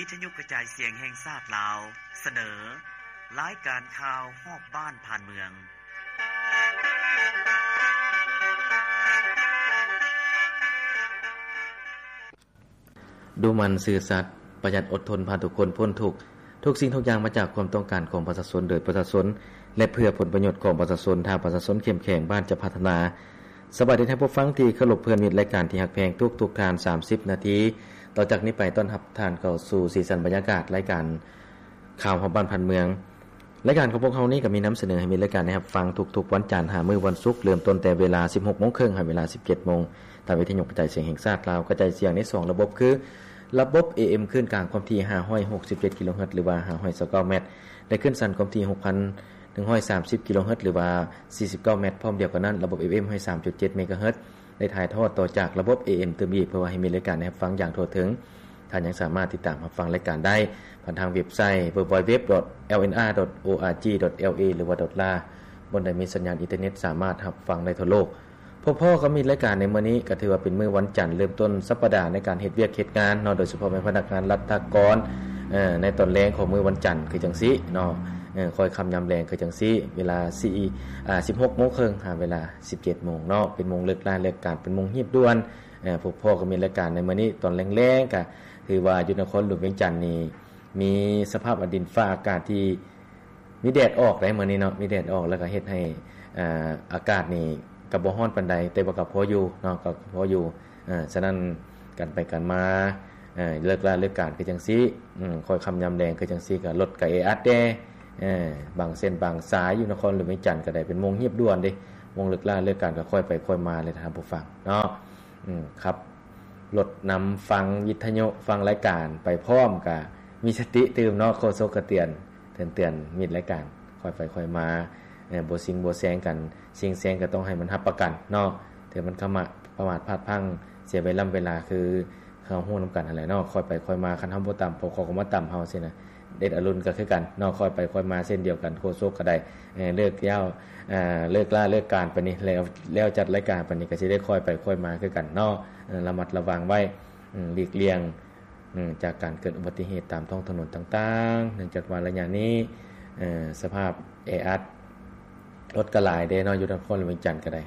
ວິທະຍຸກະຈາຍສຽງແຫ່ງຊາດລາວ ສະເໜີ ລາຍການຂ່າວຮອບບ້ານຜ່ານເມືອງ. ດຸໝັ່ນ, ຊື່ສັດ, ປະຢັດ, ອົດທົນ, ພາທຸກຄົນພົ້ນທຸກ. ທຸກສິ່ງທຸກຢ່າງມາຈາກຄວາມຕ້ອງການຂອງປະຊາຊົນ, ໂດຍປະຊາຊົນ ແລະ ເພື່ອຜົນປະໂຫຍດຂອງປະຊາຊົນ. ຖ້າປະຊາຊົນເຂັ້ມແຂງ, ບ້ານຈະພັດທະນາ. ສະບາຍດີທ່ານຜູ້ຟັງທີ່ເຄົາລົບ, ເພື່ອນມິດລາຍການທີ່ຮັກແພງ, ທຸກໆທ່ານ ສາມສິບນາທີຕໍ່ຈາກນີ້ໄປ ຕ້ອນຮັບທ່ານເຂົ້າສູ່ສີສັນບັນຍາກາດລາຍການ ຂ່າວຮອບບ້ານຜ່ານເມືອງ. ລາຍການຂອງພວກເຮົານີ້ກໍມີນຳສະເໜີໃຫ້ມິດລາຍການໄດ້ຮັບຟັງທຸກໆວັນຈັນຫາມື້ວັນສຸກ, ເລີ່ມຕົ້ນແຕ່ເວລາສິບຫົກໂມງເຄິ່ງຫາເວລາສິບເຈັດໂມງ ທາງວິທະຍຸກະຈາຍສຽງແຫ່ງຊາດລາວ ກະຈາຍສຽງໃນສອງລະບົບ ຄືລະບົບ ເອເອັມ ຄື້ນກາງຄວາມຖີ່ຫ້າຮ້ອຍຫົກສິບເຈັດກິໂລເຮີດ ຫຼືວ່າຫ້າຮ້ອຍຊາວເກົ້າແມັດ ແລະ ຄື້ນສັ້ນຄວາມຖີ່ຫົກພັນໜຶ່ງຮ້ອຍສາມສິບກິໂລເຮີດ ຫຼືວ່າສີ່ສິບເກົ້າແມັດ. ພ້ອມດຽວກັນນັ້ນ ລະບົບ ເອເອັມ ຮ້ອຍສາມຈຸດເຈັດເມກາເຮີດ ໄດ້ຖ່າຍທອດຕໍ່ຈາກລະບົບ ເອເອັມ ຕື່ມອີກ ເພື່ອວ່າໃຫ້ມິດລາຍການໄດ້ຮັບຟັງຢ່າງທົ່ວເຖິງ. ທ່ານຍັງສາມາດຕິດຕາມຮັບຟັງລາຍການໄດ້ຜ່ານທາງເວັບໄຊ ดัບເບິນຢູດັບເບິນຢູດັບເບິນຢູດັບເບິນຢູ ດອດ ແອລເອັນອາ ດອດ ໂອອາຈີ ດອດ ແອລເອ ຫຼືວ່າ ດອດລາ ບ່ອນໃດມີສັນຍານອິນເຕີເນັດສາມາດຮັບຟັງໄດ້ທົ່ວໂລກ. ພໍ້ໆກັບມິດລາຍການໃນມື້ນີ້ ກໍຖືວ່າເປັນມື້ວັນຈັນ ເລີ່ມຕົ້ນສັບປະດາໃນການເຮັດວຽກເຮັດງານເນາະ, ໂດຍສະເພາະແມ່ນພະນັກງານລັດຖະກອນ ເອີ ໃນຕອນແລງຂອງມື້ວັນຈັນຄືຈັ່ງຊີ້ເນາະ, ເອີ ຄ່ອຍຄ່ຳຍາມແລງຄືຈັ່ງຊີ້ ເວລາສີ່ ອາ ສິບຫົກໂມງເຄິ່ງຫາເວລາສິບເຈັດໂມງເນາະ, ເປັນໂມງເລີກລາເລີກການ ເປັນໂມງຮີບດ່ວນ. ເອີ ພົບພໍ້ກັບມິດລາຍການໃນມື້ນີ້ຕອນແລງໆ ກະຖືວ່າຢູ່ນະຄອນຫຼວງວຽງຈັນນີ້ ມີສະພາບດິນຟ້າອາກາດທີ່ມີແດດອອກໄດ໋ມື້ນີ້ເນາະ, ມີແດດອອກ ແລ້ວກະເຮັດໃຫ້ ອາ ອາກາດນີ້ກະບໍ່ຮ້ອນປານໃດ ແຕ່ວ່າກະພໍຢູ່ເນາະ, ກະພໍຢູ່. ເອີ ສະນັ້ນການໄປການມາ ເອີ ເລີກລາເລີກການຄືຈັ່ງຊີ້ ອືມ ຄ່ອຍຄ່ຳຍາມແລງຄືຈັ່ງຊີ້ ກະລົດກະແອອັດແດ່. ເອີ ບາງເສັ້ນບາງສາຍຢູ່ນະຄອນຫຼວງວຽງຈັນກະໄດ້ເປັນໂມງຮີບດ່ວນເດ້, ໂມງເລີກລາເລີກການກະຄ່ອຍໄປຄ່ອຍມາເລີຍທ່ານຜູ້ຟັງເນາະ. ອືມ ຂັບລົດນຳຟັງວິທະຍຸ ຟັງລາຍການໄປພ້ອມ ກະມີສະຕິຕື່ມເນາະ, ໂຄສົກກະເຕືອນ ເຕືອນ ເຕືອນມິດລາຍການ ຄ່ອຍໄປຄ່ອຍມາ ເອີ ບໍ່ຊິງບໍ່ແຊງກັນ, ຊິງແຊງກໍຕ້ອງໃຫ້ມັນຮັບປະກັນເນາະ. ເທື່ອມັນຂະມະ ປະມາດພາດພັງ ເສຍເວລາເວລາ ຄືເຮົາຮູ້ນຳກັນຫັ້ນແຫຼະເນາະ, ຄ່ອຍໄປຄ່ອຍມາ. ຄັນເຮົາບໍ່ຕຳ ພວກເຂົາກໍມາຕຳເຮົາຊີ້ນະ. ເດດອະລຸນກໍຄືກັນເນາະ, ຄ່ອຍໄປຄ່ອຍມາເຊັ່ນດຽວກັນ. ໂຄສົກກໍໄດ້ ເອີ ເລີກແລ້ວ ເອີ ເລີກລາເລີກການປານນີ້ ແລ້ວ ແລ້ວຈັດລາຍການປານນີ້ ກໍຊິໄດ້ຄ່ອຍໄປຄ່ອຍມາຄືກັນເນາະ. ເອີ ລະມັດລະວັງໄວ້ ອືມ ຫຼີກລ່ຽງ ອືມ ຈາກການເກີດອຸບັດຕິເຫດຕາມທ້ອງຖະໜົນຕ່າງໆ ເນື່ອງຈາກວ່າໄລຍະນີ້ ເອີ ສະພາບແອອັດ ລົດກໍຫຼາຍເດ້ເນາະ, ຢູ່ນະຄອນຫຼວງວຽງຈັນກໍໄດ້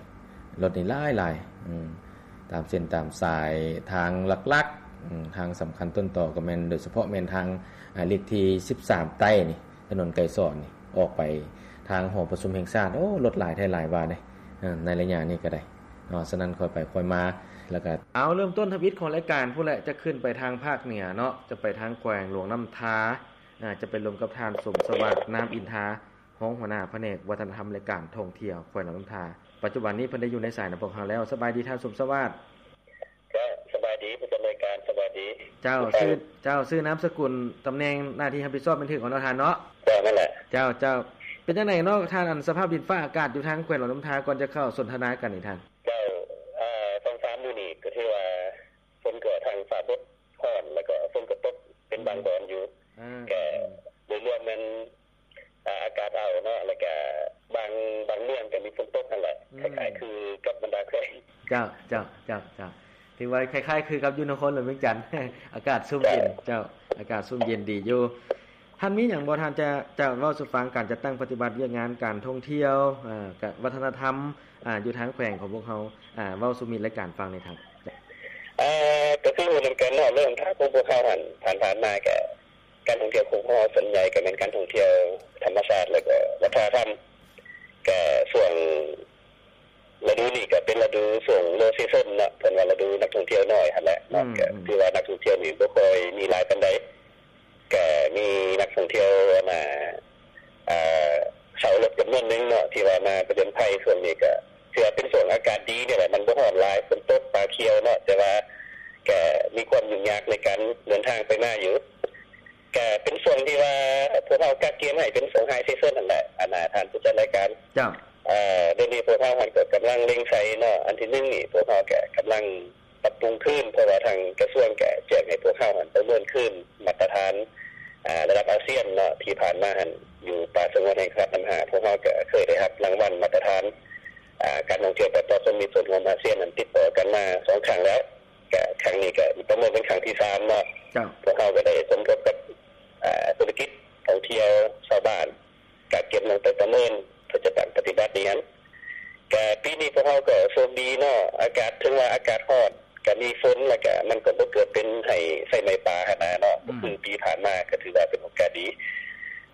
ລົດນີ້ຫຼາຍໆ ອືມ ຕາມເສັ້ນຕາມສາຍທາງຫຼັກໆ ອືມ ທາງສຳຄັນຕົ້ນຕໍກໍແມ່ນ ໂດຍສະເພາະແມ່ນທາງ ອາ ເລກທີສິບສາມໃຕ້ນີ້ ຖະໜົນໄກສອນນີ້ ອອກໄປທາງຫໍປະຊຸມແຫ່ງຊາດ. ໂອ້ ລົດຫຼາຍແທ້ຫຼາຍວ່າເດ້ ເອີ ໃນໄລຍະນີ້ກໍໄດ້ ເນາະ. ສະນັ້ນຄ່ອຍໄປຄ່ອຍມາ ແລ້ວກະ ເອົາ ເລີ່ມຕົ້ນທຳອິດຂອງລາຍການພຸ້ນແຫຼະ, ຈະຂຶ້ນໄປທາງພາກເໜືອເນາະ, ຈະໄປທາງແຂວງຫຼວງນ້ຳທາ ອາ ຈະໄປລົມກັບທ່ານ ສົມສະຫວາດ ນາມອິນທາ ຮອງຫົວໜ້າພະແນກວັດທະນະທຳ ແລະ ການທ່ອງທ່ຽວແຂວງຫຼວງນ້ຳທາ. ປັດຈຸບັນນີ້ເພິ່ນໄດ້ຢູ່ໃນສາຍນຳພວກເຮົາແລ້ວ. ສະບາຍດີທ່ານ ສົມສະຫວາດ. ເຈົ້າ ສະບາຍດີຜູ້ດຳເນີນການ, ສະບາຍດີ. ເຈົ້າ ຊື່ ເຈົ້າ ຊື່ນາມສະກຸນ ຕຳແໜ່ງໜ້າທີ່ຮັບຜິດຊອບແມ່ນຖືກເນາະທ່ານເນາະ? ເຈົ້າ ນັ້ນແຫຼະ. ເຈົ້າ ເຈົ້າ ເປັນຈັ່ງໃດເນາະທ່ານ ອັນສະພາບດິນຟ້າອາກາດຢູ່ທາງແຂວງຫຼວງນ້ຳທາ ກ່ອນຈະເຂົ້າສົນທະນາກັນນີ້ທ່ານ? ເຈົ້າ ເອີ ສອງສາມມື້ນີ້ກໍຖືວ່າຝົນກໍທັງຟ້າບົດ ຮ້ອນ ແລ້ວກໍຝົນກໍຕົກເປັນບາງບ່ອນຢູ່ ອືມ ກໍ ອືມ ໂດຍລວມແມ່ນ ອາ ອາກາດອ້າວເນາະ ແລ້ວກະບາງ ບາງເມືອງກະມີຝົນຕົກຫັ້ນແຫຼະ ອືມ ຄ້າຍໆຄືກັບບັນດາແຂວງ. ເຈົ້າ ເຈົ້າ ເຈົ້າ ເຈົ້າ ຖືວ່າຄ້າຍໆຄືກັບຢູ່ນະຄອນຫຼວງວຽງຈັນ ອາກາດຊຸ່ມເຢັນ. ເຈົ້າ ເຈົ້າ ອາກາດຊຸ່ມເຢັນດີຢູ່. ທ່ານມີຫຍັງບໍ່ ທ່ານຈະ ຈະເວົ້າສູ່ຟັງ ການຈັດຕັ້ງປະຕິບັດວຽກງານການທ່ອງທ່ຽວ ເອີ ກະວັດທະນະທຳ ອາ ຢູ່ທາງແຂວງຂອງພວກເຮົາ ອາ ເວົ້າສູ່ມິດລາຍການຟັງແດ່ທ່ານ. ເອີ ກໍຄືຮູ້ນຳກັນເນາະ ເລື່ອງຂອງພວກເຮົາຫັ້ນ ຜ່ານໆມາກະ ການທ່ອງທ່ຽວຂອງພວກເຮົາສ່ວນໃຫຍ່ກໍແມ່ນການທ່ອງທ່ຽວທຳມະຊາດ ແລ້ວກໍວັດທະນະທຳ. ກໍຊ່ວງລະດູນີ້ກໍເປັນລະດູຊ່ວງ low season ເນາະ ເພິ່ນວ່າລະດູນັກທ່ອງທ່ຽວນ້ອຍຫັ້ນແຫຼະເນາະ. ອືມ ກໍ ອືມ ຖືວ່ານັກທ່ອງທ່ຽວນີ້ບໍ່ຄ່ອຍມີຫຼາຍປານໃດ. ກໍມີນັກທ່ອງທ່ຽວ ອັນນ່າ ເອີ ເຊົ່າລົດຈຳນວນໜຶ່ງເນາະ ທີ່ວ່າມາຜະຈົນໄພ. ຊ່ວງນີ້ກໍຖືວ່າເປັນຊ່ວງອາກາດດີນີ້ແຫຼະ ມັນບໍ່ຮ້ອນຫຼາຍ ຝົນຕົກ ປາຂຽວເນາະ ແຕ່ວ່າກໍມີຄວາມຫຍຸ້ງຍາກໃນການເດີນທາງໄປມາຢູ່. ກະເປັນຊ່ວງທີ່ວ່າພວກເຮົາກະກຽມໃຫ້ເປັນຊ່ວງ high season ຫັ້ນແຫຼະ ອັນນ່າ ທ່ານຜູ້ຈັດລາຍການ. ເຈົ້າ ເອີ ດຽວນີ້ພວກເຮົາຫັ້ນກໍກຳລັງເລັ່ງໃສ່ເນາະ. ອັນທີໜຶ່ງນີ້ ພວກເຮົາກະກຳລັງປັບປຸງຄືນ ເພາະວ່າທາງກະຊວງກະແຈ້ງໃຫ້ພວກເຮົາຫັ້ນປະເມີນຄືນມາດຕະຖານ ອາ ລະດັບອາຊຽນເນາະ. ທີ່ຜ່ານມາຫັ້ນ ຢູ່ປ່າສະຫງວນແຫ່ງຊາດນ້ຳຫາ ພວກເຮົາກະເຄີຍໄດ້ຮັບລາງວັນມາດຕະຖານ ອາ ການທ່ອງທ່ຽວປະຊາຊົນມີສ່ວນຮ່ວມອາຊຽນ ອັນຕິດຕໍ່ກັນມາສອງຄັ້ງແລ້ວ. ກະຄັ້ງນີ້ກະປະເມີນເປັນຄັ້ງທີສາມເນາະ. ເຈົ້າ ພວກເຮົາກະໄດ້ສົມທົບກັ ເປີນ ເພື່ອຈະຕັ້ງປະຕິບັດນີ້ຫັ້ນ. ກະປີນີ້ພວກເຮົາກໍໂຊກດີເນາະ ອາກາດ ເຖິງວ່າອາກາດຮ້ອນ ກະມີຝົນ ແລ້ວກະມັນກໍບໍ່ເກີດເປັນໄຫ້ໄຟໄໝ້ປ່າຫັ້ນນະເນາະ ອືມ ຄືປີຜ່ານມາ ກໍຖືວ່າເປັນໂອກາດດີ.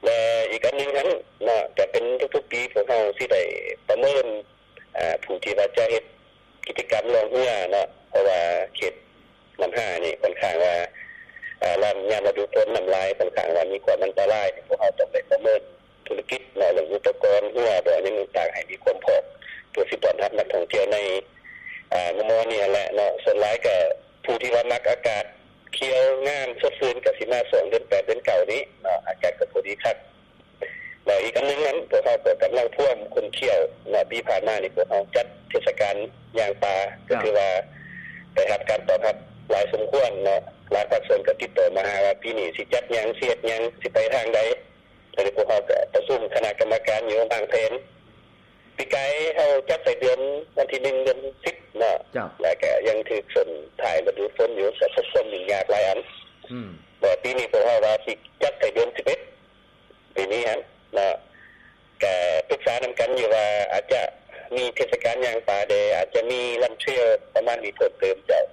ແລະ ອີກອັນໜຶ່ງຫັ້ນເນາະ ກະເປັນທຸກໆປີ ພວກເຮົາຊິໄດ້ປະເມີນ ອາ ຜູ້ທີ່ວ່າຈະເຮັດກິດຈະກຳລ່ອງເຮືອເນາະ ເພາະວ່າເຂດ ນ້ຳຫ້ານີ້ຂ້ອນຂ້າງວ່າ ອາ ລຳ ຍາມລະດູຝົນນ້ຳຫຼາຍ ຂ້ອນຂ້າງວ່າມີຄວາມອັນຕະລາຍ ພວກເຮົາຕ້ອງໄດ້ປະເມີນທຸລະກິດເນາະ ເລື່ອງອຸປະກອນເຮືອບໍ ຫຍັງຕ່າງໆ ໃຫ້ມີຄວາມພ້ອມ ເພື່ອຊິຕ້ອນຮັບນັກທ່ອງທ່ຽວໃນ ອາ ໝໍນີ້ຫັ້ນແຫຼະເນາະ. ສ່ວນຫຼາຍກໍຜູ້ທີ່ວ່າມັກອາກາດຂຽວງາມສົດຊື່ນ ກໍຊິມາຊ່ວງເດືອນແປດ ເດືອນເກົ້ານີ້ເນາະ ອາກາດກໍພໍດີຄັກ. ແລ້ວອີກອັນໜຶ່ງນັ້ນ ພວກເຮົາກໍກຳລັງພວມຂົນຂ້ຽວເນາະ ປີຜ່ານມານີ້ພວກເຮົາຈັດເທດສະການຍ່າງປ່າ ກໍຖືວ່າໄດ້ຮັບການຕອບຮັບຫຼາຍສົມຄວນເນາະ. ຫຼາຍພາກສ່ວນກໍຕິດຕໍ່ມາຫາວ່າປີນີ້ຊິຈັດຫຍັງ ຊິເຮັດຫຍັງ ຊິໄປທາງໃດ. ແລ້ວພວກເຮົາກໍປະຊຸມຄະນະກຳມະການຢູ່ວາງແຜນ. ປີກາຍເຮົາຈັດໃສ່ເດືອນ ວັນທີໜຶ່ງ ເດືອນສິບເນາະ ແລ້ວກໍຍັງຖືກຊົນທ້າຍລະດູຝົນຢູ່ ກໍພົບຄວາມຫຍຸ້ງຍາກຫຼາຍອັນ. ອືມ ແຕ່ປີນີ້ພວກເຮົາວ່າຊິຈັດໃສ່ເດືອນສິບເອັດ ປີນີ້ຫັ້ນເນາະ ກະປຶກສານຳກັນຢູ່ວ່າອາດຈະມີເທດສະການຍ່າງປ່າແດ່ ອາດຈະມີລຳເທຣວປະມານນີ້ເພີ່ມເຕີມເຈົ້າ.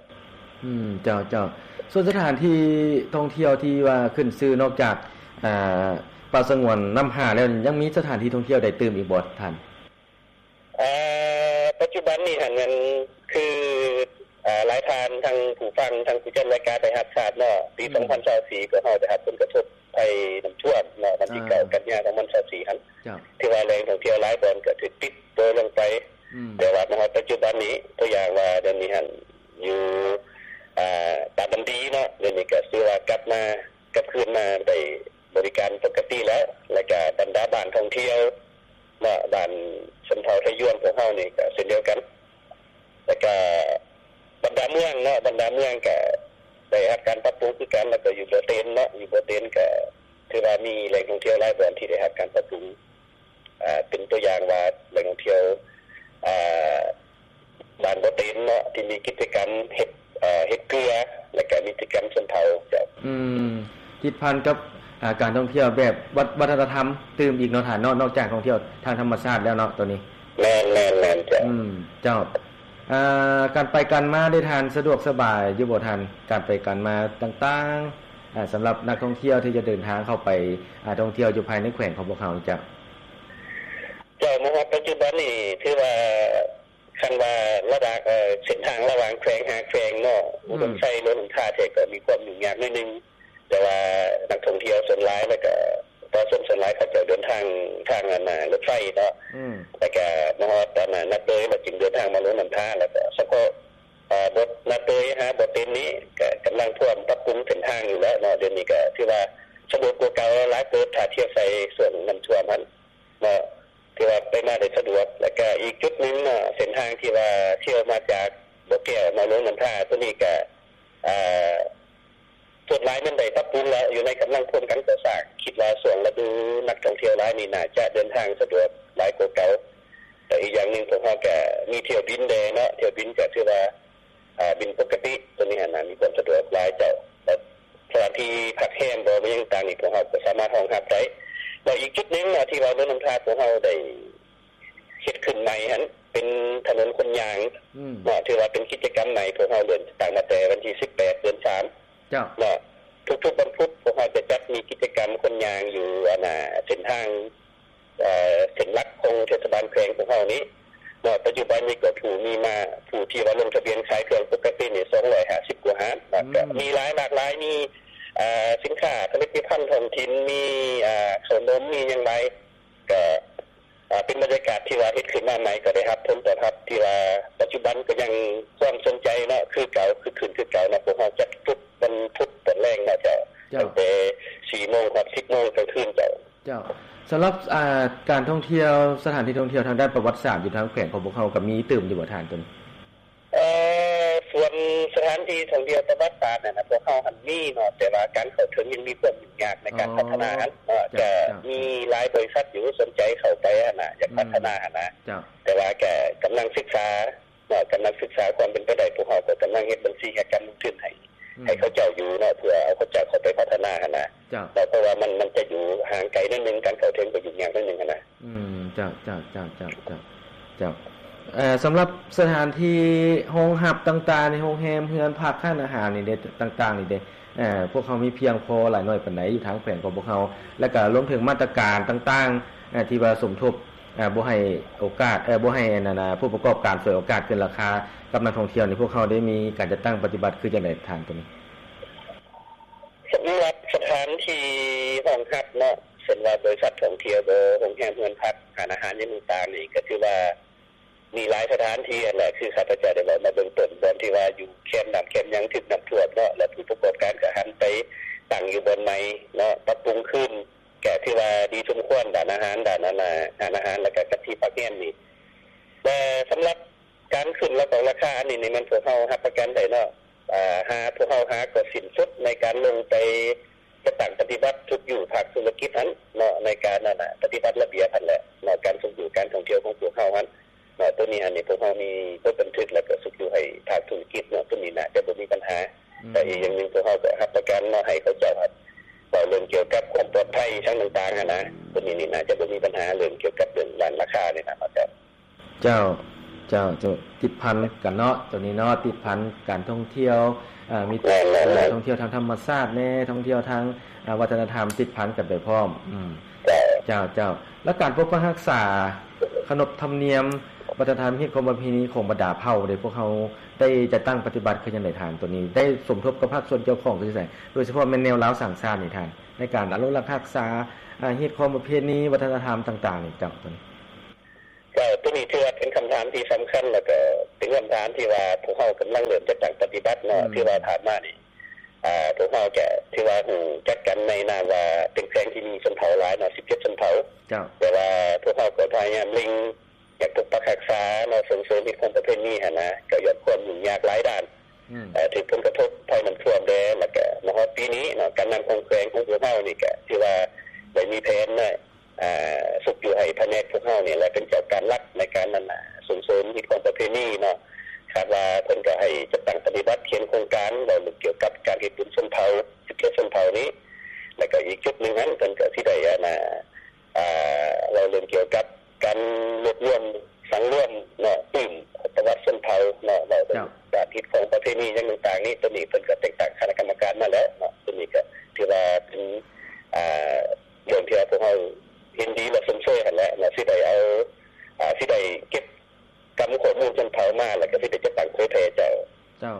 ອືມ ເຈົ້າ ເຈົ້າ. ສ່ວນສະຖານທີ່ທ່ອງທ່ຽວທີ່ວ່າຂຶ້ນຊື່ນອກຈາກ ອາ ປ່າສະຫງວນນ້ຳຫ້າແລ້ວ ຍັງມີສະຖານທີ່ທ່ອງທ່ຽວໃດຕື່ມອີກບໍ່ທ່ານ? ເອີ ປັດຈຸບັນນີ້ຫັ້ນແມ່ນຄື ເອີ ຫຼາຍທ່ານ ທັງຜູ້ຟັງ ທັງຜູ້ຈັດລາຍການໄດ້ຮັບຊາບເນາະ ປີ ອືມ ສອງພັນຊາວສີ່ ພວກເຮົາໄດ້ຮັບຜົນກະທົບໄພນ້ຳຖ້ວມເນາະ ວັນທີ ເກົ້າ ອ່າ ກັນຍາ ສອງພັນຊາວສີ່ຫັ້ນ ເຈົ້າ ທີ່ວ່າແຫຼ່ງທ່ອງທ່ຽວຫຼາຍບ່ອນກໍຖືກປິດໂຕລົງໄປ. ອືມ ແຕ່ວ່າມາຮອດປັດຈຸບັນນີ້ ຕົວຢ່າງວ່າດຽວນີ້ຫັ້ນ ຢູ່ ອາ ຕາດຳດີເນາະ ດຽວນີ້ກໍຖືວ່າກັບມາ ກັບຄືນມາໄດ້ ບໍລິການປົກກະຕິແລ້ວ ແລ້ວກະບັນດາບ້ານທ່ອງທ່ຽວເນາະ ບ້ານຊົນເຜົ່າໄທຢວນພວກເຮົານີ້ກະເຊັ່ນດຽວກັນ ແລ້ວກະບັນດາເມືອງເນາະ ບັນດາເມືອງກະໄດ້ຮັບການປັບປຸງຄືກັນ ແລ້ວກະຢູ່ບໍ່ເຕັນເນາະ ຢູ່ບໍ່ເຕັນກະຖືວ່າມີແຫຼ່ງທ່ອງທ່ຽວຫຼາຍບ່ອນທີ່ໄດ້ຮັບການປັບປຸງ. ອາ ເປັນຕົວຢ່າງວ່າແຫຼ່ງທ່ອງທ່ຽວ ອາ ບ້ານບໍ່ເຕັນເນາະ ທີ່ມີກິດຈະກຳເຮັດ ເຮັດເກືອ ແລ້ວກະມີກິດຈະກຳຊົນເຜົ່າເຈົ້າ. ອືມ ຕິດພັນກັບ ອາ ການທ່ອງທ່ຽວແບບວັດ ວັດທະນະທຳຕື່ມອີກເນາະທ່ານເນາະ ນອກຈາກທ່ອງທ່ຽວທາງທຳມະຊາດແລ້ວເນາະ ໂຕນີ້. ແມ່ນໆໆ ເຈົ້າ. ອືມ ເຈົ້າ. ອາ ການໄປການມາເດທ່ານ ສະດວກສະບາຍຢູ່ບໍ່ທ່ານ? ການໄປການມາຕ່າງໆ ອາ ສຳລັບນັກທ່ອງທ່ຽວທີ່ຈະເດີນທາງເຂົ້າໄປ ອາ ທ່ອງທ່ຽວຢູ່ພາຍໃນແຂວງຂອງພວກເຮົານີ້ເຈົ້າ. ເຈົ້າ ມາຮອດປັດຈຸບັນນີ້ຖືວ່າ ຄັນວ່າລະຫວ່າງ ເອີ່ ເສັ້ນທາງລະຫວ່າງແຂວງຫາແຂວງເນາະ ອືມ ອຸດົມໄຊ ຫຼວງນ້ຳທາແທ້ກໍມີຄວາມຫຍຸ້ງຍາກໜ້ອຍໜຶ່ງ ແຕ່ວ່ານັກທ່ອງທ່ຽວສ່ວນຫຼາຍ ແລ້ວກໍປະຊາຊົນສ່ວນຫຼາຍເຂົາເຈົ້າເດີນທາງ ທາງອັນ ລົດໄຟເນາະ ອືມ ແລ້ວກໍມາຮອດອັນນາເຕີຍ ແລ້ວຈຶ່ງເດີນທາງມາຫຼວງນ້ຳທາ ແລ້ວກໍສະເພາະ ອາ ບົດນາເຕີຍຫາບໍ່ເຕັນນີ້ ກໍກຳລັງພວມປັບປຸງເສັ້ນທາງຢູ່ແລ້ວເນາະ ດຽວນີ້ກໍຖືວ່າສະດວກກວ່າເກົ່າຫຼາຍເຕີບ ຖ້າທຽບໃສ່ຊ່ວງນ້ຳຖ້ວມຫັ້ນເນາະ ຖືວ່າໄປມາໄດ້ສະດວກ. ແລ້ວກະອີກຈຸດໜຶ່ງເນາະ ເສັ້ນທາງທີ່ວ່າທ່ຽວມາຈາກບໍ່ແກ້ວມາຫຼວງນ້ຳທາ ໂຕນີ້ກະ ອາ ສ່ວນຫຼາຍມັນໄດ້ປັບປຸງແລ້ວ ຢູ່ໃນກຳລັງໂຄງການກໍ່ສ້າງ ຄິດວ່າຊ່ວງລະດູນັກທ່ອງທ່ຽວຫຼາຍນີ້ ໜ້າຈະເດີນທາງສະດວກຫຼາຍກວ່າເກົ່າ. ແລະ ອີກຢ່າງໜຶ່ງ ພວກເຮົາກະມີຖ້ຽວບິນແດ່ເນາະ ຖ້ຽວບິນກະຖືວ່າ ອາ ບິນປົກກະຕິ ໂຕນີ້ຫັ້ນນະ ມີຄວາມສະດວກຫຼາຍເຈົ້າ ແລະ ສະຖານທີ່ພັກແຮມບໍ ຫຍັງຕ່າງໆນີ້ ພວກເຮົາກໍສາມາດຮອງຮັບໄດ້. ແລ້ວອີກຈຸດໜຶ່ງເນາະ ທີ່ວ່າເມືອງນ້ຳທາພວກເຮົາໄດ້ເຮັດຂຶ້ນໃໝ່ຫັ້ນ ເປັນຖະໜົນຄົນຍ່າງ ອືມ ເນາະ ຖືວ່າເປັນກິດຈະກຳໃໝ່ ພວກເຮົາເລີ່ມຕັ້ງມາແຕ່ວັນທີສິບແປດ ເດືອນສາມ ເຈົ້າ ເນາະ ທຸກໆວັນພຸດ ພວກເຮົາຈະຈັດມີກິດຈະກຳຄົນຍ່າງຢູ່ ອັນນາ ເສັ້ນທາງ ເອີ ເສັ້ນຫຼັກຂອງເທດສະບານແຂວງພວກເຮົານີ້ເນາະ ປັດຈຸບັນນີ້ກໍຜູ້ມີມາ ຜູ້ທີ່ວ່າລົງທະບຽນຂາຍເຄື່ອງປົກກະຕິນີ້ ສອງຮ້ອຍຫ້າສິບກວ່າຮ້ານ ແລ້ວກໍ ອືມ ມີຫຼາຍ ຫຼາກຫຼາຍ ມີ ເອີ ສິນຄ້າຜະລິດຕະພັນທ້ອງຖິ່ນ ມີ ເອີ ເຂົ້າໜົມ ມີຫຍັງຫຼາຍ ກໍ ເອີ ເປັນບັນຍາກາດທີ່ວ່າເຮັດຂຶ້ນມາໃໝ່ ກໍໄດ້ຮັບຜົນຕອບຮັບທີ່ວ່າປັດຈຸບັນກໍຍັງຄວາມສົນໃຈເນາະ ຄືເກົ່າ ຄຶກຄື້ນຄືເກົ່າເນາະ ພວກເຮົາຈັດທຸກວັນພຸດຕອນແລງເນາະເຈົ້າ ເຈົ້າ ຕັ້ງແຕ່ສີ່ໂມງຮອດສິບໂມງກາງຄືນເຈົ້າ. ເຈົ້າ ສຳລັບ ອ່າ ການທ່ອງທ່ຽວ ສະຖານທີ່ທ່ອງທ່ຽວທາງດ້ານປະຫວັດສາດຢູ່ທາງແຂວງຂອງພວກເຮົາ ກໍມີຕື່ມຢູ່ບໍ່ທ່ານຕົວນີ້? ເອີ ສ່ວນສະຖານທີ່ທ່ອງທ່ຽວປະຫວັດສາດນັ້ນນະ ພວກເຮົາຫັ້ນມີເນາະ ແຕ່ວ່າການເຂົ້າເຖິງຍັງມີຄວາມຫຍຸ້ງຍາກໃນການ ອໍ ພັດທະນາຫັ້ນເນາະ ເຈົ້າ ກໍ ເຈົ້າ ມີຫຼາຍບໍລິສັດຢູ່ສົນໃຈເຂົ້າໄປຫັ້ນນະ ຢາກ ອືມ ພັດທະນາຫັ້ນນະ ເຈົ້າ ແຕ່ວ່າກໍກຳລັງສຶກສາ ເນາະ ກຳລັງສຶກສາຄວາມເປັນໄປໄດ້ ພວກເຮົາກໍກຳລັງເຮັດບັນຊີການລົງທຶນໃຫ້ ອືມ ໃຫ້ເຂົາເຈົ້າຢູ່ເນາະ ເພື່ອເອົາເຂົາເຈົ້າເຂົ້າໄປພັດທະນາຫັ້ນນະ ເຈົ້າ ເພາະວ່າມັນ ມັນຈະຢູ່ຫ່າງໄກໜ້ອຍໜຶ່ງ ການເຂົ້າເຖິງກໍຫຍຸ້ງຍາກໜ້ອຍໜຶ່ງຫັ້ນນະ ອືມ ເຈົ້າ ເຈົ້າ ເຈົ້າ ເຈົ້າ ເຈົ້າ ເຈົ້າ ເອີ ສຳລັບສະຖານທີ່ຮອງຮັບຕ່າງໆ ໃນໂຮງແຮມ ເຮືອນພັກ ຮ້ານອາຫານນີ້ເດ້ ຕ່າງໆນີ້ເດ້ ເອີ ພວກເຮົາມີພຽງພໍຫຼາຍໜ້ອຍປານໃດຢູ່ທາງແຂວງຂອງພວກເຮົາ ແລະກະລວມເຖິງມາດຕະການຕ່າງໆ ເອີ ທີ່ວ່າສົມທົບ ເອີ ບໍ່ໃຫ້ໂອກາດ ເອີ ບໍ່ໃຫ້ອັນນັ້ນນະ ຜູ້ປະກອບການສວຍໂອກາດເກີນລາຄາກັບນັກທ່ອງທ່ຽວນີ້ ພວກເຮົາໄດ້ມີການຈັດຕັ້ງປະຕິບັດຄືຈັ່ງໃດທ່ານ ໂຕນີ້? ສຳລັບສະຖານທີ່ຮອງຮັບເນາະ ເຊັ່ນວ່າບໍລິສັດທ່ອງທ່ຽວບໍ ໂຮງແຮມ ເຮືອນພັກ ຮ້ານອາຫານຫຍັງຕ່າງໆນີ້ ກໍຖືວ່າມີຫຼາຍສະຖານທີ່ຫັ້ນແຫຼະ ຄືຂ້າພະເຈົ້າໄດ້ເວົ້າມາເບື້ອງຕົ້ນ ບ່ອນທີ່ວ່າຢູ່ແຄມນ້ຳແຄມຫຍັງຖືກນ້ຳຖ້ວມເນາະ ແລະຜູ້ປະກອບການກໍຫັນໄປຕັ້ງຢູ່ບ່ອນໃໝ່ເນາະ ປັບປຸງຄືນ ກໍຖືວ່າດີສົມຄວນ ດ້ານອາຫານ ດ້ານອັນນ່າ ຮ້ານອາຫານ ແລະກໍກັບທີ່ພັກແຮມນີ້ ແລະສຳລັບການຂຶ້ນລາຄາ ລາຄາອັນນີ້ນີ້ ແມ່ນພວກເຮົາຮັບປະກັນໄດ້ເນາະ ອາ ຫາ ພວກເຮົາຫາກໍສິ້ນສຸດໃນການລົງໄປຈັດຕັ້ງປະຕິບັດທຸກຢູ່ພາກທຸລະກິດຫັ້ນເນາະ ໃນການນັ້ນນະ ປະຕິບັດລະບຽບຫັ້ນແຫຼະເນາະ ການຊຸກຍູ້ການທ່ອງທ່ຽວຂອງພວກເຮົາຫັ້ນເນາະ ໂຕນີ້ຫັ້ນນີ້ ພວກເຮົາມີບົດບັນທຶກ ແລ້ວກໍຊຸກຍູ້ໃຫ້ພາກທຸລະກິດເນາະ ໂຕນີ້ໜ້າຈະບໍ່ມີບັນຫາ ອືມ ແລະອີກຢ່າງໜຶ່ງ ພວກເຮົາກໍຮັບປະກັນເນາະ ໃຫ້ເຂົາເຈົ້າຫັ້ນ ເວົ້າເລື່ອງກ່ຽວກັບຄວາມປອດໄພ ອີ່ຫຍັງຕ່າງໆຫັ້ນນະ ໂຕນີ້ນີ້ໜ້າຈະບໍ່ມີບັນຫາ ເລື່ອງກ່ຽວກັບເລື່ອງດ້ານລາຄານີ້ນະ ເຈົ້າ. ເຈົ້າ ເຈົ້າ ເຈົ້າ ຕິດພັນກັນເນາະ ໂຕນີ້ເນາະ ຕິດພັນການທ່ອງທ່ຽວ ເອີ ມີ ແມ່ນໆໆ ທ່ອງທ່ຽວທາງທຳມະຊາດແດ່ ທ່ອງທ່ຽວທາງ ອາ ວັດທະນະທຳ ຕິດພັນກັນໄປພ້ອມ ອືມ ເຈົ້າ ເຈົ້າ ເຈົ້າ ແລ້ວການປົກປັກຮັກສາຂະໜົບທຳນຽມ ວັດທະນະທຳ ຮີດຄອງປະເພນີຂອງບັນດາເຜົ່າເດ ພວກເຮົາໄດ້ຈັດຕັ້ງປະຕິບັດຄືຈັ່ງໃດທ່ານ ໂຕນີ້ ໄດ້ສົມທົບກັບພາກສ່ວນກ່ຽວຂ້ອງຄືຈັ່ງໃດ ໂດຍສະເພາະແມ່ນແນວລາວສ້າງຊາດນີ້ທ່ານ ໃນການອະນຸລັກຮັກສາ ອາ ຮີດຄອງປະເພນີ ວັດທະນະທຳຕ່າງໆນີ້ ເຈົ້າ ໂຕນີ້? ເຈົ້າ ໂຕນີ້ຖືວ່າເປັນຄຳຖາມທີ່ສຳຄັນ ແລ້ວກໍເປັນຄຳຖາມທີ່ວ່າພວກເຮົາກຳລັງເລີ່ມຈັດຕັ້ງປະຕິບັດເນາະ ອືມ ຖືວ່າຜ່ານມານີ້ ອາ ພວກເຮົາຈະຖືວ່າຮູ້ຈັກກັນໃນນາມວ່າເປັນແຂວງທີ່ມີຊົນເຜົ່າຫຼາຍເນາະ ສິບເຈັດຊົນເຜົ່າ ເຈົ້າ ແຕ່ວ່າພວກເຮົາກໍພະຍາຍາມເລັ່ງ ຢາກປົກປັກຮັກສາເນາະ ສົ່ງເສີມຮີດຄອງປະເພນີຫັ້ນນະ ກໍຍ້ອນຄວາມຫຍຸ້ງຍາກຫຼາຍດ້ານ ອືມ ເອີ ຖືກຜົນກະທົບໄພນ້ຳຖ້ວມແດ່ ແລ້ວກໍມາຮອດປີນີ້ເນາະ ການນຳຂອງແຂວງຂອງພວກເຮົານີ້ກໍຖືວ່າໄດ້ມີແຜນເນາະ ອາ ຊຸກຍູ້ໃຫ້ພະແນກພວກເຮົານີ້ແຫຼະ ເປັນເຈົ້າການຫຼັກໃນການນັ້ນນະ ສົ່ງເສີມຮີດຄອງປະເພນີເນາະ ຄາດວ່າເພິ່ນກໍໃຫ້ຈັດຕັ້ງປະຕິບັດຂຽນໂຄງການ ເວົ້າເລື່ອງກ່ຽວກັບການເຮັດບຸນຊົນເຜົ່າ ສິບເຈັດຊົນເຜົ່ານີ້ ແລ້ວກໍອີກຈຸດໜຶ່ງຫັ້ນ ເພິ່ນກໍຊິໄດ້ ອັນນ່າ ອາ ເວົ້າເລື່ອງກ່ຽວກັບການລວບລວມ ສັງລວມເນາະ ຕື່ມປະຫວັດຊົນເຜົ່າເນາະ ເວົ້າເລື່ອງ ເຈົ້າ ການຮີດຄອງປະເພນີຫຍັງຕ່າງໆນີ້ ໂຕນີ້ເພິ່ນກໍແຕ່ງຕັ້ງຄະນະກຳມະການມາແລ້ວເນາະ ໂຕນີ້ກໍຖືວ່າເປັນ ອາ ເລື່ອງທີ່ວ່າພວກເຮົາເຫັນດີ ແລະ ຊົມເຊີຍຫັ້ນແຫຼະເນາະ ຊິໄດ້ເອົາ ອາ ຊິໄດ້ເກັບກຳຂໍ້ມູນຊົນເຜົ່າມາ ແລ້ວກໍຊິໄດ້ຈັດຕັ້ງເຜີຍແຜ່ເຈົ້າ. ເຈົ້າ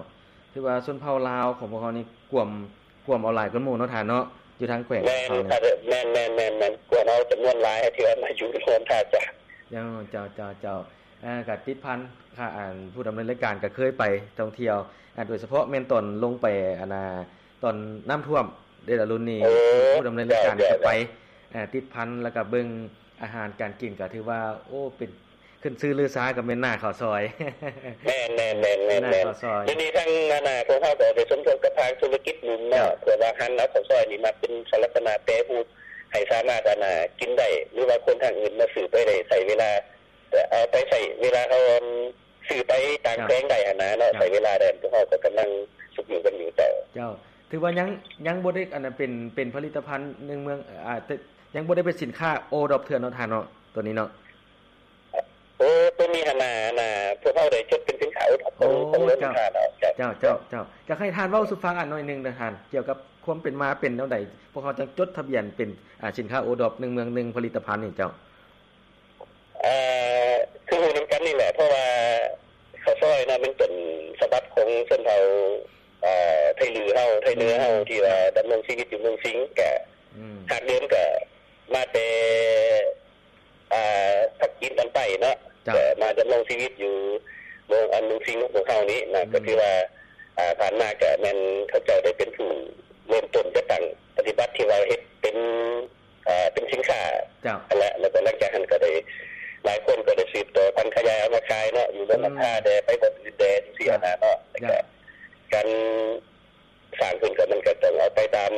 ຖືວ່າຊົນເຜົ່າລາວຂອງພວກເຮົານີ້ກວມ ກວມເອົາຫຼາຍກວ່າໝູ່ເນາະທ່ານເນາະ ຢູ່ທາງແຂວງ ແມ່ນ ຂອງເຮົານີ້ ແມ່ນໆໆ ກວມເອົາຈຳນວນຫຼາຍທີ່ວ່າມາຢູ່ລວມທ່າຈາກ ເຈົ້າ ເຈົ້າ ເຈົ້າ ເຈົ້າ ເອີ ກໍຕິດພັນ ອາ ຜູ້ດຳເນີນລາຍການກໍເຄີຍໄປທ່ອງທ່ຽວ ອາ ໂດຍສະເພາະແມ່ນຕອນລົງໄປ ອັນນ່າ ຕອນນ້ຳຖ້ວມເດດອາລຸນນີ້ ໂອ້ ຜູ້ດຳເນີນລາຍການ ເຈົ້າ ກໍໄປ ເຈົ້າ ເອີ ຕິດພັນ ແລ້ວກໍເບິ່ງອາຫານການກິນ ກໍຖືວ່າ ໂອ້ ເປັນ ຂຶ້ນຊື່ລືຊາກໍແມ່ນໜ້າເຂົ້າຊອຍ ແມ່ນໆໆໆ ໜ້າເຂົ້າຊອຍ ດຽວນີ້ທາງ ອັນນ່າ ພວກເຮົາກໍໄປສົມທົບກັບພາກທຸລະກິດໜຸ່ມເນາະ ເຈົ້າ ເພື່ອວ່າຫັນເອົາເຂົ້າຊອຍນີ້ມາເປັນສາລະສະນະແປຮູບ ໃຫ້ສາມາດ ອັນນ່າ ກິນໄດ້ ຫຼືວ່າຄົນທາງອື່ນມາຊື້ໄປໄດ້ໃຊ້ເວລາ ເອົາໄປໃຊ້ເວລາເຮົາ ອັນ ຊື້ໄປຕ່າງແຂວງໄດ້ຫັ້ນນະເນາະ ເຈົ້າ ໃຊ້ເວລາໄດ້ ພວກເຮົາກໍກຳລັງຊຸກຍູ້ກັນຢູ່ເຈົ້າ. ເຈົ້າ ຖືວ່າຍັງ ຍັງບໍ່ໄດ້ ອັນນັ້ນ ເປັນ ເປັນຜະລິດຕະພັນໜຶ່ງເມືອງ ອາ ຍັງບໍ່ໄດ້ເປັນສິນຄ້າໂອດອບເທື່ອເນາະທ່ານເນາະ ໂຕນີ້ເນາະ. ໂອ້ ໂຕນີ້ຫັ້ນນະ ອັນນ່າ ພວກເຮົາໄດ້ຈົດເປັນສິນຄ້າໂອດອບຂອງ ຂອງເມືອງທ່ານເນາະ ເຈົ້າ ເຈົ້າ ເຈົ້າ ເຈົ້າ ຢາກໃຫ້ທ່ານເວົ້າສູ່ຟັງອັນໜ້ອຍໜຶ່ງນະທ່ານ ກ່ຽວກັບຄວາມເປັນມາເປັນແນວໃດ ພວກເຮົາຈັ່ງຈົດທະບຽນເປັນ ອາ ສິນຄ້າໂອດອບໜຶ່ງເມືອງໜຶ່ງຜະລິດຕະພັນນີ້ເຈົ້າ. ເອີ ຄືຮູ້ນຳກັນນີ້ແຫຼະ ເພາະວ່າເຂົ້າຊອຍເນາະ ມັນເປັນສະບັບຂອງຊົນເຜົ່າ ເອີ ໄທລື້ເຮົາ ໄທເໜືອເຮົາ ອືມ ທີ່ວ່າດຳລົງຊີວິດຢູ່ເມືອງສິງ ກະ ອືມ ຮາກເດີມກະມາແຕ່ ອາ ພາກຈີນຕອນໃຕ້ເນາະ ເຈົ້າ ກະມາດຳລົງຊີວິດຢູ່ເມືອງ ອັນ ເມືອງສິງຂອງພວກເຮົານີ້ນະ ອືມ ກໍຖືວ່າ ອາ ຜ່ານມາກະແມ່ນເຂົາເຈົ້າໄດ້ເປັນຜູ້ເລີ່ມຕົ້ນຈັດຕັ້ງປະຕິບັດ ທີ່ວ່າເຮັດເປັນ ເປັນສິນຄ້າ ເຈົ້າ ຫັ້ນແຫຼະ ແລ້ວກໍຫຼັງຈາກຫັ້ນກໍໄດ້ ຫຼາຍຄົນກໍໄດ້ສືບຕໍ່ພັນຂະຫຍາຍເອົາມາຂາຍເນາະ ຢູ່ເມືອງ ອືມ ນ້ຳທາແດ່ ໄປບ່ອນອື່ນແດ່ ຈັ່ງຊີ້ ເຈົ້າ ຫັ້ນນະເນາະ ເຈົ້າ ການສ້າງຂຶ້ນກໍມັນກໍຕ້ອງເອົາໄປຕາມ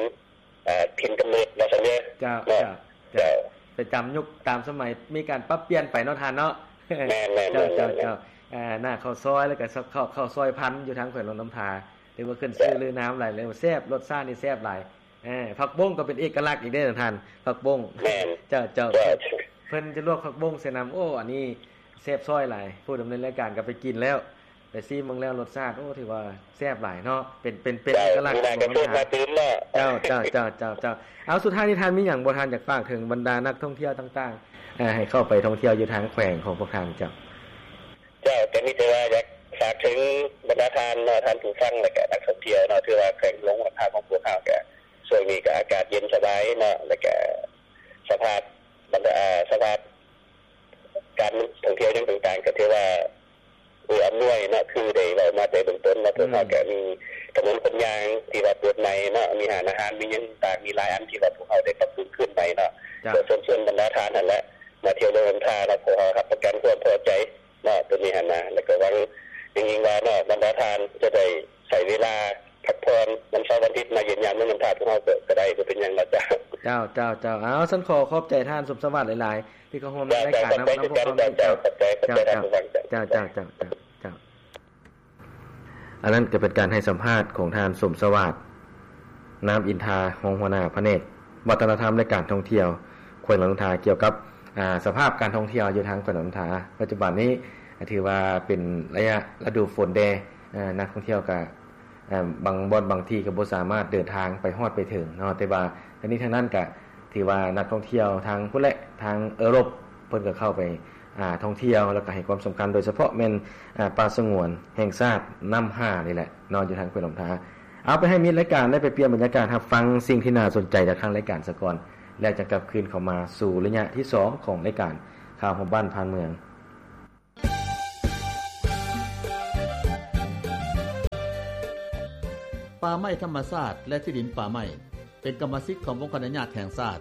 ອາ ຖິ່ນກຳເນີດວ່າຊັ້ນເດີ ເຈົ້າ ເຈົ້າ ເຈົ້າ ໄປຕາມຍຸກຕາມສະໄໝ ມີການປັບປ່ຽນໄປເນາະທ່ານເນາະ ແມ່ນໆໆໆ ເຈົ້າ ເຈົ້າ ເຈົ້າ ອາ ໜ້າເຂົ້າຊອຍ ແລ້ວກໍເຂົ້າ ເຂົ້າຊອຍພັນຢູ່ທາງແຂວງຫຼວງນ້ຳທາ ຖືວ່າຂຶ້ນຊື່ລືນາມຫຼາຍ ແລ້ວແຊບ ລົດຊາດນີ້ແຊບຫຼາຍ ເອີ ຜັກບົ້ງກໍເປັນເອກະລັກອີກເດ້ທ່ານ ຜັກບົ້ງ ແມ່ນ ເຈົ້າ ເຈົ້າ ເຈົ້າ. ເພິ່ນຈະລວກຜັກບົ້ງໃສ່ນຳ. ໂອ້ ອັນນີ້ແຊບຊ້ອຍຫຼາຍ. ຜູ້ດຳເນີນລາຍການກໍໄປກິນແລ້ວ ໄປຊີມເບິ່ງແລ້ວ ລົດຊາດ ໂອ້ ຖືວ່າແຊບຫຼາຍເນາະ. ເປັນ ເປັນ ເປັນເອກະລັກຂອງເມືອງທ່າ. ເຈົ້າ ເຈົ້າ ເຈົ້າ ເຈົ້າ ເຈົ້າ. ເອົາ ສຸດທ້າຍນີ້ທ່ານມີຫຍັງບໍ່ ທ່ານຢາກຝາກເຖິງບັນດານັກທ່ອງທ່ຽວຕ່າງໆ ເອີ ໃຫ້ເຂົ້າໄປທ່ອງທ່ຽວຢູ່ທາງແຂວງຂອງພວກທ່ານເຈົ້າ? ເຈົ້າ ກໍມີແຕ່ວ່າຢາກຝາກເຖິງບັນດາທ່ານເນາະ ທ່ານຜູ້ຟັງ ແລ້ວກະນັກທ່ອງທ່ຽວເນາະ ຖືວ່າແຂວງຫຼວງນ້ຳທາຂອງພວກເຮົາກະ ຊ່ວງນີ້ກະອາກາດເຢັນສະບາຍເນາະ ແລ້ວກະສະພາບ ບັນດາ ສະພາບການທ່ອງທ່ຽວຫຍັງຕ່າງໆ ກໍຖືວ່າເອື້ອອຳນວຍເນາະ ຄືໄດ້ເວົ້າມາແຕ່ເບື້ອງຕົ້ນເນາະ. ພວກເຮົາກໍມີຖະໜົນຄົນຍ່າງທີ່ວ່າເປີດໃໝ່ເນາະ ມີຮ້ານອາຫານ ມີຫຍັງຕ່າງໆ ມີຫຼາຍອັນທີ່ວ່າພວກເຮົາໄດ້ປັບປຸງຄືນໃໝ່ເນາະ. ກໍເຊີນຊວນບັນດາທ່ານຫັ້ນແຫຼະ ມາທ່ຽວເມືອງນ້ຳທາເນາະ ພວກເຮົາຮັບປະກັນຄວາມພໍໃຈເນາະ ຕົວນີ້ຫັ້ນນະ. ແລ້ວກໍຫວັງຍິ່ງໆວ່າເນາະ ບັນດາທ່ານຈະໄດ້ໃຊ້ເວລາ ພັກຜ່ອນວັນເສົາວັນອາທິດ ມາຢ້ຽມຢາມເມືອງນ້ຳທາພວກເຮົາກໍ ກໍໄດ້ ບໍ່ເປັນຫຍັງເນາະ. ເຈົ້າ ເຈົ້າ ເຈົ້າ ເຈົ້າ. ເອົາ ຊັ້ນຂໍຂອບໃຈທ່ານສົມສະຫວັດຫຼາຍໆ ທີ່ເຂົ້າຮ່ວມໃນລາຍການນຳ ນຳພວກເຮົານີ້. ເຈົ້າ ເຈົ້າ ເຈົ້າ. ເຈົ້າ ເຈົ້າ ເຈົ້າ ເຈົ້າ. ອັນນັ້ນກໍເປັນການໃຫ້ສຳພາດຂອງທ່ານ ສົມສະຫວັດ ນາມອິນທາ ຮອງຫົວໜ້າພະແນກວັດທະນະທຳ ແລະ ການທ່ອງທ່ຽວແຂວງຫຼວງນ້ຳທາ ກ່ຽວກັບ ອາ ສະພາບການທ່ອງທ່ຽວຢູ່ທາງແຂວງຫຼວງນ້ຳທາ. ປັດຈຸບັນນີ້ຖືວ່າເປັນໄລຍະລະດູຝົນແດ່ ອາ ນັກທ່ອງທ່ຽວກໍ ເອີ່ມ ບາງບ່ອນບາງທີ່ກໍບໍ່ສາມາດເດີນທາງໄປຮອດໄປເຖິງເນາະ ແຕ່ວ່າທັງນີ້ທັງນັ້ນກະຖືວ່ານັກທ່ອງທ່ຽວທາງພຸ້ນແຫຼະ ທາງເອີຣົບ ເພິ່ນກໍເຂົ້າໄປ ອາ ທ່ອງທ່ຽວ ແລ້ວກໍໃຫ້ຄວາມສຳຄັນ ໂດຍສະເພາະແມ່ນ ອາ ປ່າສະຫງວນແຫ່ງຊາດນ້ຳຫ້ານີ້ແຫຼະເນາະ ຢູ່ທາງແຂວງຫຼວງນ້ຳທາ. ເອົາ ໄປໃຫ້ມິດລາຍການໄດ້ໄປປ່ຽນບັນຍາກາດ ຮັບຟັງສິ່ງທີ່ໜ້າສົນໃຈຈາກທາງລາຍການສາກ່ອນ ແລ້ວຈະກັບຄືນເຂົ້າມາສູ່ໄລຍະທີສອງຂອງລາຍການຂ່າວຮອບບ້ານຜ່ານເມືອງ. ປ່າໄມ້ທຳມະຊາດ ແລະ ທີ່ດິນປ່າໄມ້ ເປັນກຳມະສິດຂອງອົງຄະອະນຸຍາດແຫ່ງຊາດ,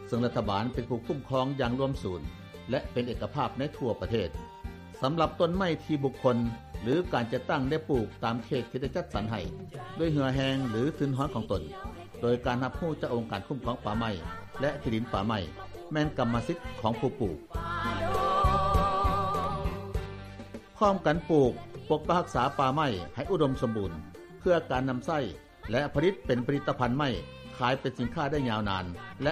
ເຊິ່ງລັດຖະບານເປັນຜູ້ຄຸ້ມຄອງຢ່າງລວມສູນ ແລະ ເປັນເອກະພາບໃນທົ່ວປະເທດ. ສຳລັບຕົ້ນໄມ້ທີ່ບຸກຄົນ ຫຼື ການຈັດຕັ້ງໄດ້ປູກຕາມເຂດທີ່ໄດ້ຈັດສັນໃຫ້ ດ້ວຍເຫື່ອແຮງ ຫຼື ທຶນຮອນຂອງຕົນ, ໂດຍການຮັບຮູ້ຈາກອົງການຄຸ້ມຄອງປ່າໄມ້ ແລະ ທີ່ດິນປ່າໄມ້ ແມ່ນກຳມະສິດຂອງຜູ້ປູກ. ພ້ອມກັນປູກ, ປົກປັກຮັກສາປ່າໄມ້ໃຫ້ອຸດົມສົມບູນ ເພື່ອການນຳໃຊ້ ແລະ ຜະລິດເປັນຜະລິດຕະພັນໄມ້ ຂາຍເປັນສິນຄ້າໄດ້ຍາວນານ ແລະ